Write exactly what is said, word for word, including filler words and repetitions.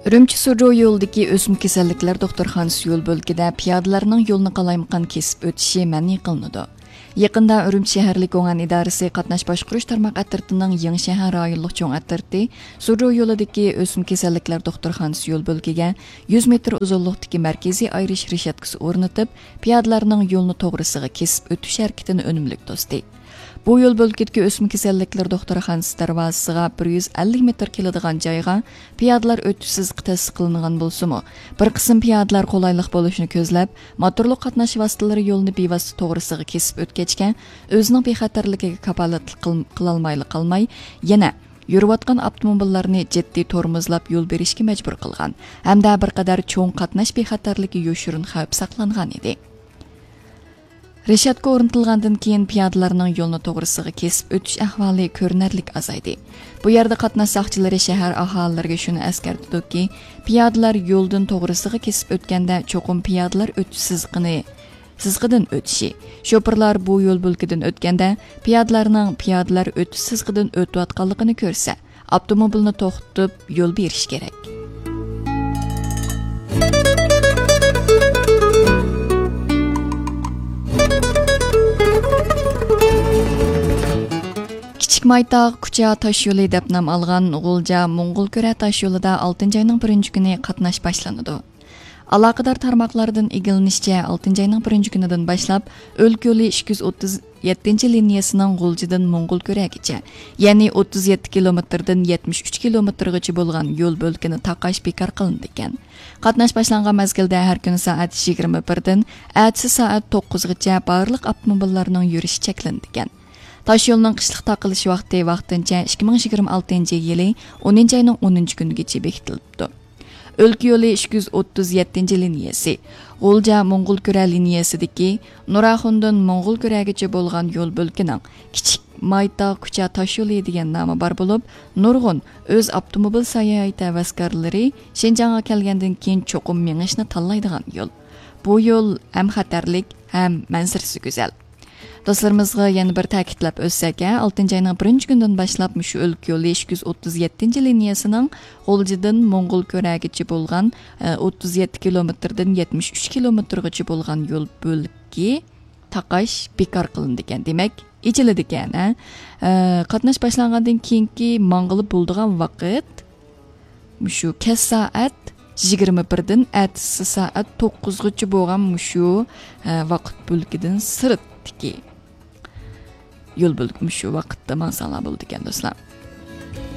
ئۈرۈمچى سۇجۇ يولىدىكى ئۆسمە كېسەللىكلەر دوختۇرخانىسى يول بۆلىكىدە پىيادىلەرنىڭ يولىنى قالايمىقان كېسىپ ئۆتۈشى مەنئى قىلىنىدۇ. يېقىندا ئۈرۈمچى شەھەرلىك گۇڭئەن ئىدارىسى قاتناش باشقۇرۇش تارماق ئەترىتىنىڭ يېڭى شەھەر رايونلۇق چوڭ ئەترىتى سۇجۇ يولىدىكى ئۆسمە كېسەللىكلەر دوختۇرخانىسى يول بۆلىكىگە يۈز مېتىر ئۇزۇنلۇقتىكى مەركىزىي ئايرىش رېشاتكىسى ئورنىتىپ، پىيادىلەرنىڭ يولنى توغرىسىغا كېسىپ ئۆتۈش ھەرىكىتىنى ئۈنۈملۈك توستى. بۇ يول بۆلىكىدىكى ئۆسمە كېسەللىكلىرى دوختۇرخانىسى دەرۋازىسىغا بىر يۈز ئەللىك مېتىر كېلىدىغان جايغا پىيادىلەر ئۆتۈش سىزىقى تەسىس قىلىنغان بولسىمۇ، بىر قىسىم پىيادىلەر قولايلىق بولۇشىنى كۆزلەپ، موتورلۇق قاتناش ۋاسىتىلىرى يولىنى بىۋاسىتە توغرىسىغا كېسىپ ئۆتكەچكە، ئۆزىنىڭ بىخەتەرلىكىگە كاپالەتلىك قىل-، قىلالمايلا قالماي، يەنە يۈرۈۋاتقان ئاپتوموبىللارنى جىددىي تورمۇزلاپ يول بېرىشكە مەجبۇر قىلغان ھەمدە بىر قەدەر چوڭ قاتناش بىخەتەرلىكى يوشۇرۇن خەۋپ ساقلانغان ئىدى. رېشاتكا ئورنىتىلغاندىن كېيىن پىيادىلەرنىڭ يولنى توغرىسىغا كېسىپ ئۆتۈش ئەھۋالى كۆرۈنەرلىك ئازايدى. بۇ يەردە قاتناش ساقچىلىرى شەھەر ئاھالىلىرىگە شۇنى ئەسكەرتىدۇكى، پىيادىلەر يولدىن توغرىسىغا كېسىپ ئۆتكەندە چوقۇم پىيادىلەر ئۆتۈش سىزىقىنى، سىزىقىدىن ئۆتۈشى، شوپۇرلار بۇ يول بۆلىكىدىن ئۆتكەندە پىيادىلەرنىڭ پىيادىلەر ئۆتۈش سىزىقىدىن ئۆتۈۋاتقانلىقىنى كۆرسە، ئاپتوموبىلنى توختىتىپ يول بېرىش كېرەك. كىچىك مايتاغ كۇچا تاش يولى دەپ نام ئالغان غۇلجا موڭغۇلكۈرە تاش يولىدا ئالتىنچى ئاينىڭ بىرىنچى كۈنى قاتناش باشلىنىدۇ. ئالاقىدار تارماقلاردىن ئىگىلىنىشىچە، ئالتىنچى ئاينىڭ بىرىنچى كۈنىدىن باشلاپ ئۆلكە يولى ئىككى يۈز ئوتتۇز يەتتىنچى لىنىيەسىنىڭ غۇلجىدىن موڭغۇلكۈرەگىچە، يەنى ئوتتۇز يەتتە كىلومېتىردىن يەتمىش ئۈچ كىلومېتىرغىچە بولغان يول بۆلىكىنى تاقاش بىكار قىلىنىدىكەن. قاتناش باشلانغان مەزگىلدە ھەر كۈنى سائەت يىگىرمە بىردىن ئەتىسى سائەت توققۇزغىچە بارلىق ئاپتوموبىللارنىڭ يۈرۈشى چەكلىنىدىكەن. تاش يولىنىڭ قىشلىق تاقىلىش ۋاقتى ۋاقتىنچە ئىككى مىڭ يىگىرمە ئالتىنچى يىلى ئونىنچى ئاينىڭ ئونىنچى كۈنىگىچە بېكىتىلىپتۇ. ئۆلكە يولى ئىككى يۈز ئوتتۇز يەتتىنچى لىنىيەسى، غۇلجا موڭغۇلكۈرە لىنىيەسىدىكى نۇراخۇندىن موڭغۇلكۈرەگىچە بولغان يول بۆلىكىنىڭ كىچىك مايتاغ كۇچا تاش يولى دېگەن نامى بار بولۇپ، نۇرغۇن ئۆز ئاپتوموبىل ساياھەت ھەۋەسكارلىرى شىنجاڭغا كەلگەندىن كېيىن چوقۇم مېڭىشنى تاللايدىغان يول. بۇ يول ھەم خەتەرلىك، ھەم مەنزىرىسى گۈزەل. دوستلىرىمىزغا يەنە بىر تەكىتلەپ ئۆتسەك، ئالتىنچى ئاينىڭ بىرىنچى كۈنىدىن باشلاپ مۇشۇ ئۆلكە يولى ئىككى يۈز ئوتتۇز يەتتىنچى لىنىيەسىنىڭ غۇلجىدىن موڭغۇلكۈرەگىچە بولغان، ئە، ئوتتۇز يەتتە كىلومېتىردىن يەتمىش ئۈچ كىلومېتىرغىچە بولغان يول بۆلىكى تاقاش بىكار قىلىنىدىكەن. دېمەك، ئېچىلىدىكەن، ھە؟ ئە، قاتناش باشلانغاندىن كېيىنكى ماڭغىلى بولىدىغان ۋاقىت مۇشۇ كەچ سائەت يىگىرمە بىردىن ئەتىسى سائەت توققۇزغىچە بولغان مۇشۇ، ئە، ۋاقىت بۆلىكىدىن سىرتتىكى يول بۆلىكى مۇشۇ ۋاقىتتا ماڭساڭلار بولىدىكەن، دوستلار.